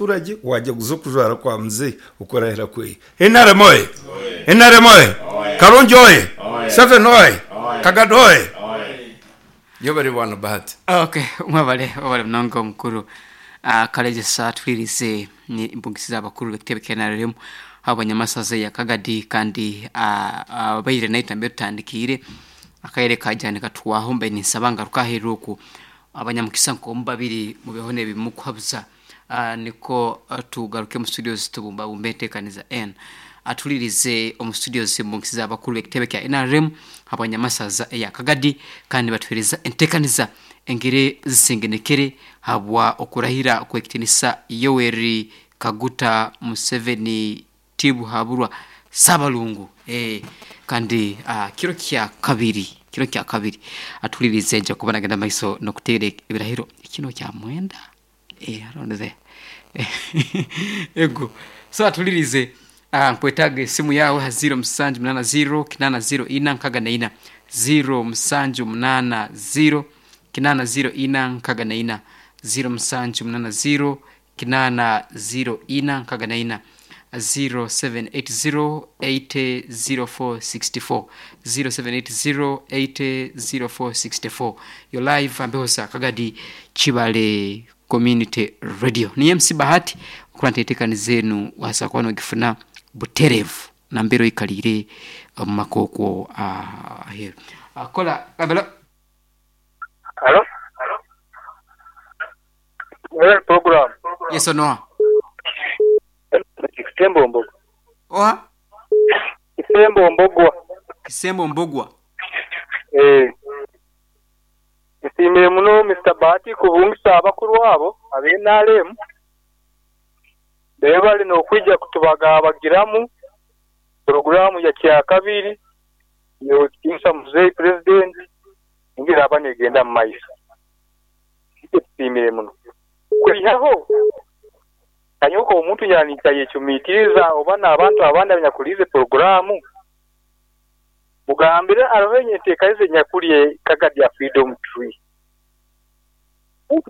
Abaturage wajaguza okujwara kwa Mzee okurahira kwe. Nrm oye! Nrm oye! Kalungi oye! Museveni oye! Kagado oye! Yebare bwana Bahati. Ok mwebale webale munonga omukuru Karegyesa atuhwerize ni mpungisize abakuru bekitebe kya NRM abanyamasaza eya Kagadi kandi abaire naitwe nambere tutandikiire akaire kaija nikatuhwaho mbaire ninsaba ngaruke aheeru oku abanyamukisa nk'omu babiri mubeho n'ebimukuhabuza nikwo tugaruke omu studios tubumbabumbe enteekaniza enu. Atuhulirize omu studios embungisize abakuru b'ekitebe kya NRM habwanyamasaza eya Kagadi kandi nibatuhereza enteekaniza engeri zisengenekere habwa okurahira kw'ekitinisa Yoweri Kaguta Museveni Tibuhaburwa Ssabalungu kandi kiro kya kabiri kiro kya kabiri atuhulirize nja kuba nagenda mumaiso n'okuteera ebirahiro kino kya mwenda around there ego so atuhulirize nkwetaaga esimu yaawe ha ziro musanju munaana ziro kinaana ziro ina nkaaga na ina ziro musanju munaana ziro kinaana ziro ina nkaaga na ina ziro musanju munaana ziro kinaana ziro ina nkaaga na ina 0780 800464 0780 800464 yo live ambeho Kagadi Kibale Community Radio ni MC Bahati okuranta enteekaniza enu waasa kuba nogifuna butereevu nambere oikaliire omu maka okwo aheeru. Kola kabelo. Halo? Well, program. Yes or no? Kisembo Mbogwa. Oha? Kisembo Mbogwa. Kisembo Mbogwa. Eh. Nsiimire muno Mister Bahati kubungisa abakuru abo abe NRM. Bebale n'okwija kutubagabagiramu puroguramu ya kyakabiri y'okutinisa Muzei President engeri aba negenda mu maiso. Itwe tusiimire muno. Kwihaho kanyowe omuntu yaninkayecumitiriza oba n'abantu abandi abanyakuliize puroguramu mugambire aroho enteekaniza enyakuli Kagadi ya Freedom Tree.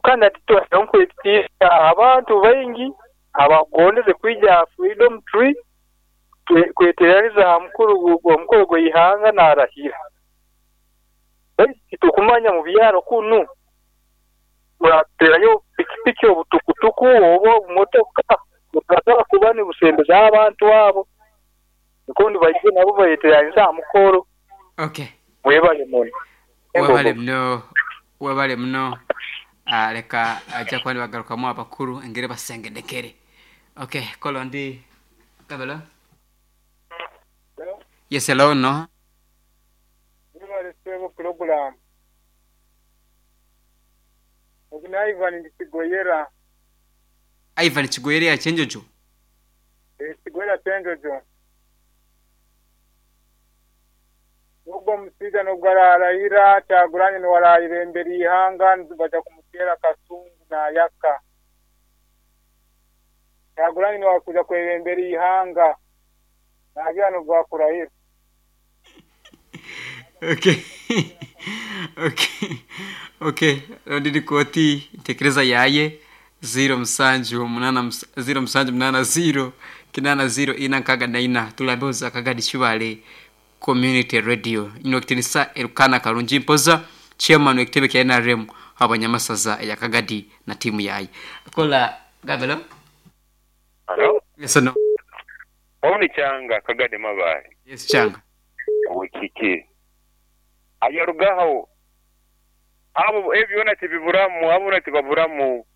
Kandi hati nkwetiisa abantu baingi abakugondeze kwija aha Freedom Tree kweteraniza aha mukoro gw'eihanga naarahira. Baitu titukumanya mu byaro kunu murateerayo pikipiki obutukutuku oba obumotoka butasobora kuba nibusembeza abantu abo nikwo nibaija nabo bayeteranize aha mukoro. Okay. Mwebale muno. Webale muno, webale muno. Leka aja kuba nibagarukamu abakuru engeri basengenekere. Okay, kola ndi kabelo. Yes, hello, no. Mwebale ssebo pulogulaamu. Ogu ni Ivan ndi Kigoyera. Ivan Kigoyera ya Kyenjojo? Kigoyera Kyenjojo. Ogwo omushaija n'obu ararahira Kyagulanyi niwe arayebembera eihanga nibaija kumuteera Kasungu naayaka. Kyagulanyi niwe arikwija kwebembera eihanga naagira n'obu baakurahira. Okay. Okay. Okay. Rundi ni kooti ntekereza yaye 0 musanju munana 0 musanju munana 0 kinana 0 ina nkaga na ina tulambeho Kagadi Kibale Community Radio ino kitinisa Elukana Karungi Mpoza chairman w'ekitebe kya NRM abanyamasaza ya Kagadi na timu yaye. Kola Gabelo. Halo. Yes no. Oni Changa Kagadi Mabale. Yes Changa. Wekiki. Ayarugaho abo ebyo byona tibiburamu abo bona tibaburamu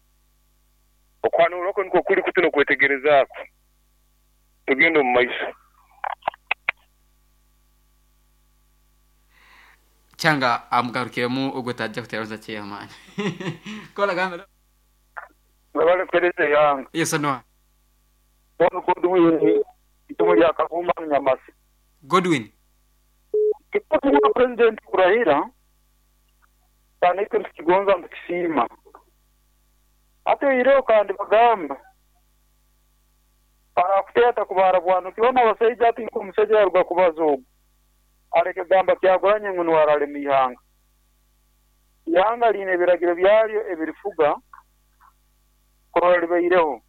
okwanura okwo nikwo kuri kuti n'okwetegerezaaku tugenda omu maiso. Changa amugarukiremu ogwo taja kuteeranza chairman. Kola Gabelo. Mwebale kuheereza eihanga. Yes no. Onu Godwin itumo lya Kavumba Nyamasi. Godwin. Kikuba President kurahira kandi itwe nitukigonza nitukisiima. Ate oihireho kandi bagamba arakuteeta kubara bwanuki hoona abasaija ati nk'omusaija yaruga kubaza ogu aleke kugamba Kyagulanyi ngu nuwe aralema eihanga. Eihanga liine ebiragiro byaryo ebirifuga kurora libaireho.